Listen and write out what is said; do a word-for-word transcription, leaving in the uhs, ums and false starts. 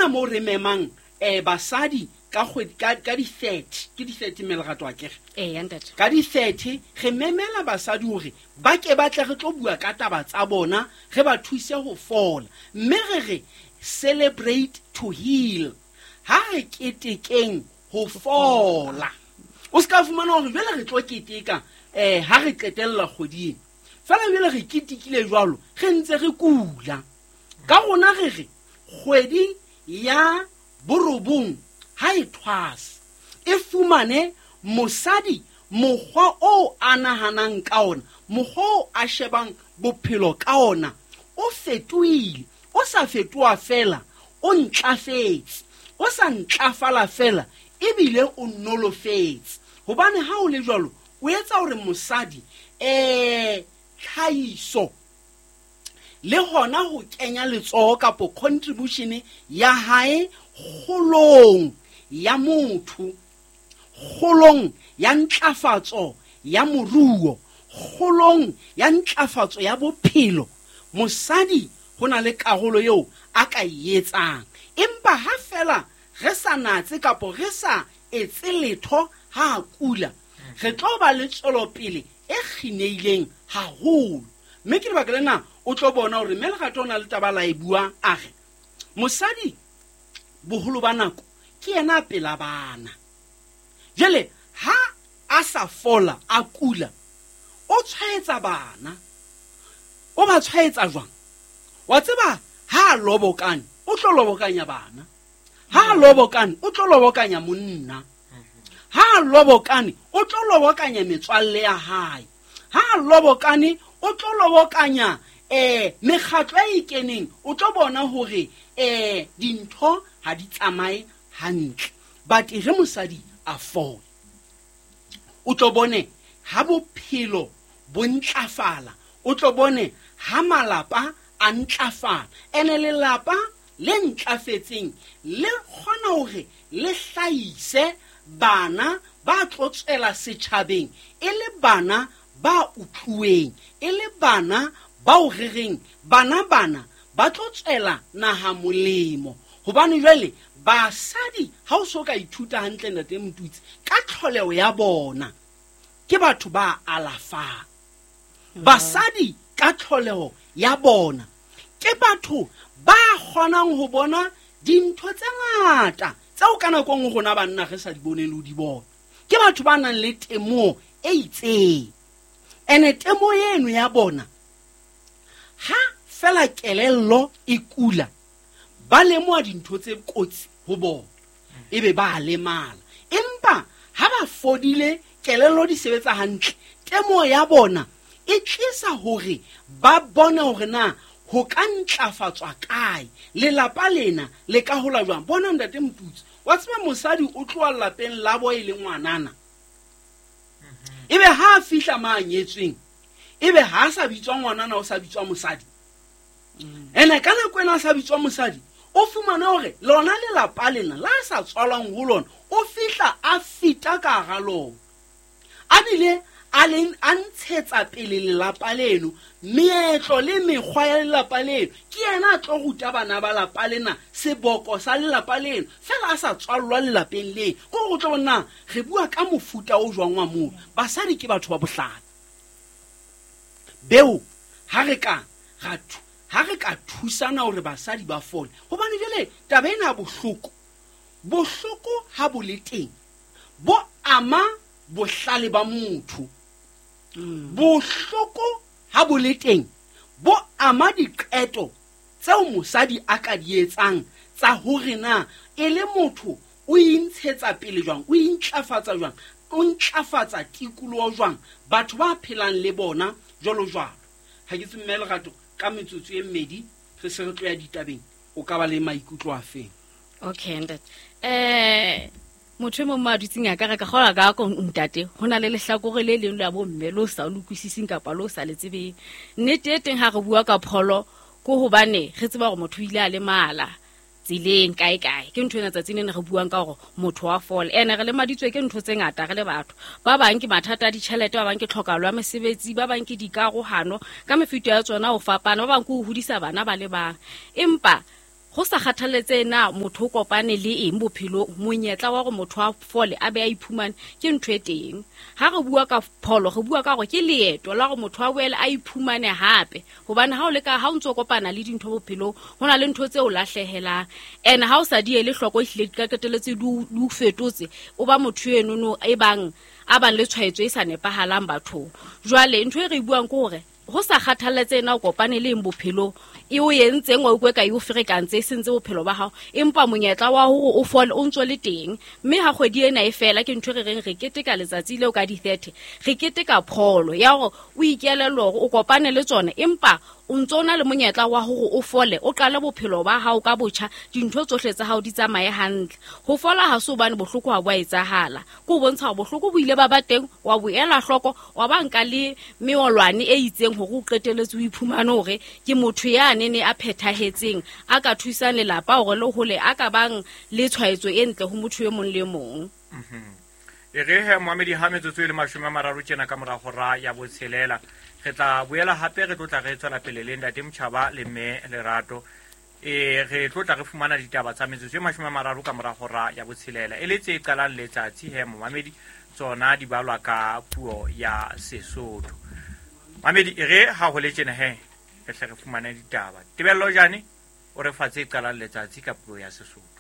mona moo re memang um basadi ka kgwedi ka ka di-thirty ke di-thirty mme lerato akere ee ntate ka di-thirty re memela basadi hore ba ke ba tle re tlo bua ka taba tsa bona re ba thuse ho fola mme re re celebrate to heal ha re ketekeng ho fola o se ka fumana hore jwale re tlo keteka um ha re qetella kgweding fela jwale re ketekile jwalo re ntse re kula ka rona re re kgwedi ya borobong ha e thwasa e fumane mosadi mokgwa o a nahanang ka ona mokgwa o a shebang bophelo ka ona o fetohile o sa fetoha fela o ntlafetse o sa ntlafala fela ebile o nolofetse hobane ha o le jwalo o etsa hore mosadi eh tlhahiso le hona ho kenya letsoho kapo contribution ya hae kgolong ya motho kgolong ya ntlafatso ya moruo kgolong ya ntlafatso ya bophelo mosadi ho na le karolo eo a ka e etsang empa ha fela re sa natse kapo re sa etse letho ha a kula re tlo ba le tswelopele e kgineileng haholo mme ke lebaka lena o tlo bona hore mme Lerato o na le taba la e bua a re mosadi boholo ba nako ke yena pela bana jwale ha a sa fola a kula o tshwaetsa bana o ba tshwaetsa jwang wa tseba ha a lobokane o tlo lobokanya bana ha a lobokane o tlo lobokanya monna ha a lobokane o tlo lobokanya metswalle ya hae ha a lobokane o tlo lobokanya eh mekgatlo e ikeneng o tlo bona hore eh dintho ha di tsamaye hantle but re mosadi a fola o tlo bone ha bophelo bo ntlafala o tlo bone ha malapa a ntlafala ene lelapa le ntlafetseng le kgona hore le hlahise bana ba tlo tswela setjhabeng e le bana ba utluweng e le bana bao re reng bana bana ba tlo tswela naha molemo hobane jwale basadi ha o so ka ithuta hantle ntate Motutsi ka tlholeho ya bona ke batho ba alafang basadi ka tlholeho ya bona ke batho ba kgonang ho bona dintho tse ngata tseo ka nako e nngwe rona banna re sa di boneng le ho di bona ke batho ba nang le temoho e itseng ene temoho eno ya bona ha fela kelello e kula ba lemoha dintho tse kotsi ho bona ebe ba lemala empa ha ba fodile kelello di sebetsa hantle temoho ya bona e tlisa hore ba bone hore na ho ka ntlafatswa kae lelapa lena le ka hola jwang bona ntate Motutsi wa tseba mosadi o tloha lapeng la bo e le ngwanana ebe ha a fihla ma nyetsweng ebe ha a sa bitswa ngwanana o sa bitswa mosadi ene ka nako ena a sa bitswa mosadi o fumane hore lona lelapa lena la sa tswalwang ho lona o fihla a fita ka hara lona a bile a leng a ntshetsa pele lelapa leno meetlo le mekgwa ya lelapa leno ke yena a tlo ruta bana ba lapa lena seboko sa lelapa leno fela a sa tswallwa lelapeng leno ke gore o tlo bona re bua ka mofuta o jwang wa moo basadi ke batho ba bohlale beo ha re ka ra ha re ka thusana hore basadi ba fole hobane jwale taba ena ya bohloko bohloko ha bo le teng bo ama bohlale ba motho bohloko ha bo le teng bo ama diqeto tseo mosadi a ka di etsang tsa hore na e le motho o intshetsa pele jwang o intlafatsa jwang o ntlafatsa tikoloho jwang batho ba phelang le bona jwalo jwalo ha ke tsebe mme Lerato ka metsotso e mmedi re se re tlo ya ditabeng o ka ba le maikutlo a feng okay ntate eh motho e mong mo a dutseng a ka re ka kgola ka ko ntate ho na le lehlakore le leng la bomme lo sa le utlwisising kapa lo sa le tsebeng nnete e teng ha re bua ka pholo ko hobane re tseba hore motho o ile a lemala tseleng kae kae ke ntho ena tsatsing lena re buang ka hore motho wa fola ene re lemaditswe ke ntho tse ngata re le batho ba bang ke mathata a ditjhelete ba bang ke tlhokahalo ya mesebetsi ba bang ke dikarohano ka mefuta ya tsona ho fapana ba bang ke ho hodisa bana ba le bang empa Go sa kgathaletse na motho o kopane le eng bophelong, monyetla wa gore motho a fole a be a iphumane ke ntho e teng. Ha re bua ka pholo, re bua ka gore ke leeto la gore motho a boele a iphumane hape, hobane ha o le ka ha o ntso kopana le dintho bophelong, ho na le ntho tse o lahlehelang, and ha o sa di ele hloko ehlile di ka qetelletse di o fetotse, o ba motho enono e bang a bang le tshwaetso e sa nepahalang bathong. Jwale ntho e re buang ke hore ho sa kgathaletse na o kopane le eng bophelong, e o entseng wa utlwe ka e o ferekantse e sentse bophelo ba hao, empa monyetla wa hore o fole o ntso le teng. Mme ha kgwedi ena e fela, ke ntho e re reng re keteka letsatsi leo ka di-thirty, re keteka pholo ya hore o ikelellwe hore o kopane le tsona, empa o ntso na le monyetla wa hore o fole, o qale bophelo ba hao ka botjha, dintho tsohle tsa hao di tsamaye hantle. Ho fola ha se hobane bohloko ha bo a etsahala, ke ho bontsha hore bohloko bo ile ba ba teng, wa bo ela hloko, wa ba nka le meolwane e itseng hore o qetelletse o iphumane hore ke motho ya nene a phethahetseng, a ka thusang lelapa hore le hole, a ka bang le tshwaetso e ntle ho motho e mong le mong. E re he moamedi ha metsotso e le mashome a mararo tjena ka mora hora ya botshelela, re tla boela hape re tlotla re tswela pele le ntate Motjhaba le mme Lerato. E re tlotla re fumana ditaba tsa metsotso e mashome a mararo ka mora hora ya botshelela, e le tse qalang letsatsi he momamedi, tsona di balwa ka puo ya Sesotho. Mamedi, e re ha ho le tjena he re hle re fumane ditaba. Tebello Jane o re fa tse qalang letsatsi ka puo ya Sesotho.